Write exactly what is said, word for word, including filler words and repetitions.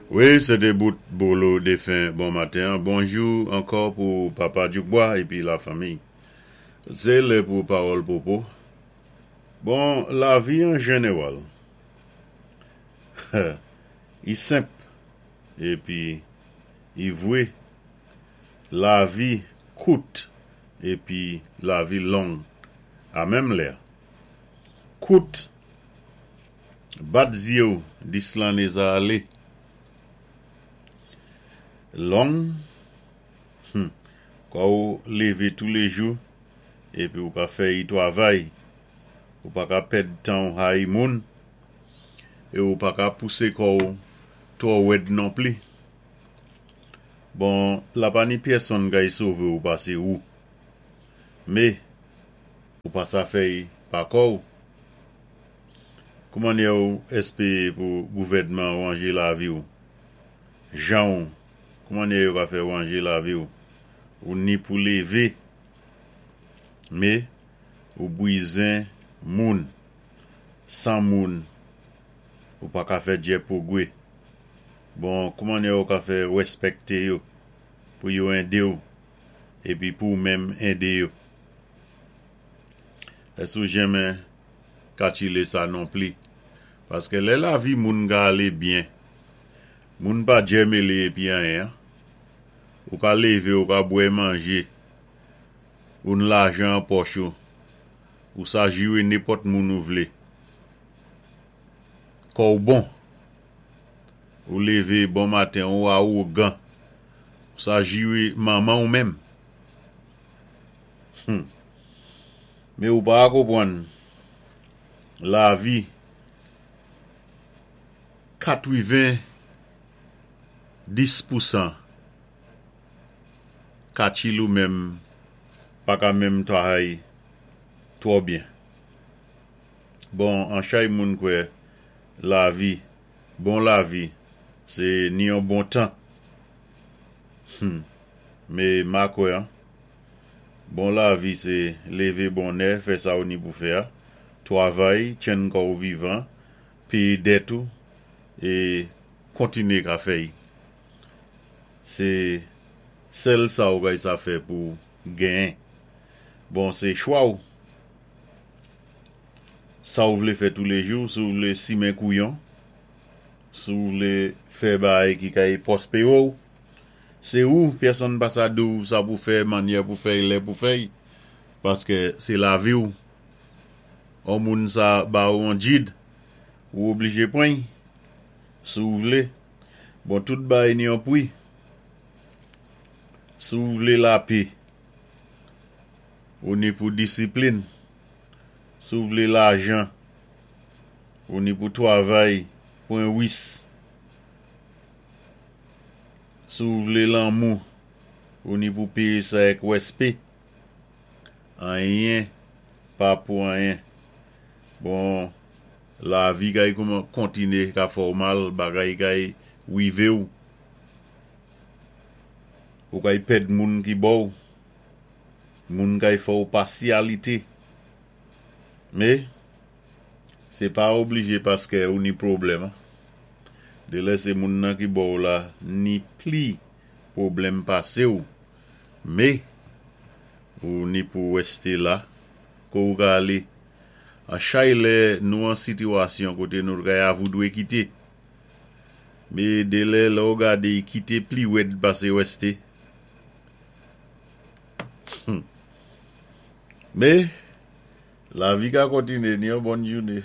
Wi, sé té bout Bolo défen bon maten. Bonjou ankò pou Papa Djoukbois épi la fanmiy. Sé lè pou pawòl popo. Bon, lavi an jénéwal, i senp épi i vwé. Lavi kout épi lavi long a menm lè. Kout, bat zyé-w dis lanné sa alé. Long, hmm, kwa ou lévé touléjou épi ou ka fè yi twavay. Ou pa ka pèd tan ou hayi moun é ou pa ka pousé kò-w twò wèd non pli. Bon, la pa ni pyèsonn kay sové ou pasé ou. Mé, ou pa sa fè-y pa kò-w. Koumannyè ou èspéwé pou gouvèdman wanjé lavi-w? Jan-w, koumannyè yo ka fè wanjé lavi-w? Ou ni pou lévé, mé ou bwizen moun. San moun, ou pa ka fè djè pwogwé. Bon, koumannyè ou ka fè wèspèkté yo pou yo édé-w épi pou ou menm édé yo? Ès ou jenmen katchilé sa non pli? Paské lè lavi moun ka alé byen, moun pa djè mélé épi anyen. Ou ka lévé, ou ka bwè manjé, ou ni lajan an pòch ou, ou sa jiwé nenpòt moun ou vlé. Kò-w bon, ou lévé bon maten ou awogan, ou sa jiwé manman-w menm. Hmm. Mé ou pa konpwann, lavi katwiven dis pousan katchil ou menm pa ka menm twavay twò byen. Bon, an chay moun kwè lavi, bon lavi, sé ni yon bon tan. Hmm. Mé ma kwè an, bon lavi sé lévé bonnè, fè sa ou ni pou fè a, twavay, tjenn kò-w vivan, péyé dèt ou, é kontiné ka fè-y. Sé sèl sa ou kay sa fè pou genyen. Bon, sé chwa-w. Sa ou vlé fè touléjou, si ou vlé simen kouyon, si ou vlé fè bagay ki kay pwospéwé-w, sé ou, pyèsonn pa sa di-w sa pou fè, mannyè pou fè, lè pou fè, paské sé lavi-w. On moun sa ba ou an djid, ou oblijé pran-y, si ou vlé. Bon, tout bagay ni yon pwi. Si ou vlé lapé, ou ni pou disiplin. Si ou vlé lajan, ou ni pou twavay, pwan wis. Si ou vlé lanmou, ou ni pou péyé sa èk wèspé. Anyen, pa pou anyen. Bon, lavi kay kouman kontiné ka fè-w mal, bagay kay wivé-w. Ou kay pèd moun ki ba-w. Moun kay fè-w pasyalité. Mé, sé pa oblijé paské ou ni pwoblèm. Dé lè sé moun nan ki ba-w la ni pli pwoblèm pasé-w. Mé, ou ni pou wèsté la, ko ou ka alé. An chay lè nou an sitiwasyon koté nou kay avoudwé kité. Mé dé lè lè ou gadé yi kité pli wèd pasé wèsté. Hmm. Mé, lavi ka kontiné ni yon bon jouné.